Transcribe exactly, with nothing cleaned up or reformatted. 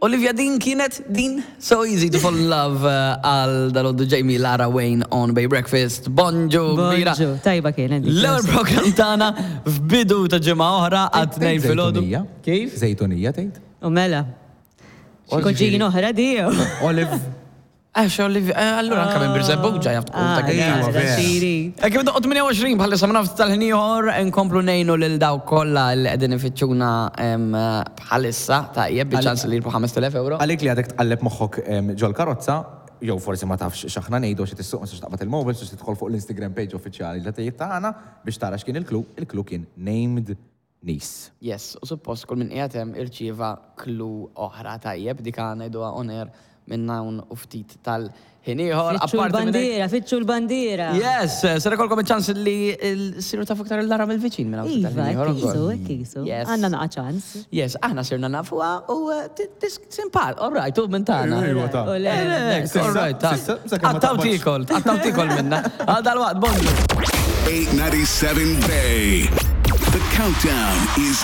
Olivia, din kienet din So Easy to Fall in Love eh, għal dal-għodu Jamie Lara Wayne on Bay Breakfast. Bonġu, kbira. Bonġu, tajba kienet. dik. L-ewwel program tagħna f'bidu ta' ġimgħa oħra għat tnejn filgħodu. Żejtunija. Kif? Żejtunija tgħid? U mela. Koġin oħra di. Olive. Għax Olivia, eh, allura anka minn Birżebbuġa jaf tkun ta' Ah, kien. Iva, vera. xiri. Kif doqgħod tmienja u għoxrin bħalissa ma nafx tal-ħin ieħor nkomplu ngħinu lil dawk kollha li qegħdin ifittxuna em, bħalissa tajjeb biċ-ċans li jirbħu ħamest elef euro. Għalik li għadek tqalleb moħħok em, ġol karozza, jew forsi ma tafx x'aħna ngħidu xi tissuq, ma tistax taqbad il-mobile, xi tidħol fuq l-Instagram page uffiċjali ta' tgħid tagħna biex tara x'kien il-clue. Il-clue kien named niece. Yes, u suppost kull min qiegħed hemm irċieva clue oħra tajjeb, dik ngħiduha on air minn hawn u ftit tal-ħin ieħor. Fittxu Apparti minn hekk- l-bandiera, fittxu l-bandiera. Yes, ser ikolkom iċ-ċans li siru tafu iktar il-Lara mill-viċin minn hawn ftit Iva, tal-ħin ieħor kisu, ukoll. kisu. Yes. Għanna naqa ċans. Yes, aħna sirna nafuha u eh, ti- tis- simpat, all right, u minn tagħna. Iva, ta' U le, Eh, Sissa, all right, ta' sissa, sakemm ma Għattaw taqbadx. tikol, għattaw tikol minna. Għal dal-waqt, bonġu. eight ninety-seven Bay. The countdown is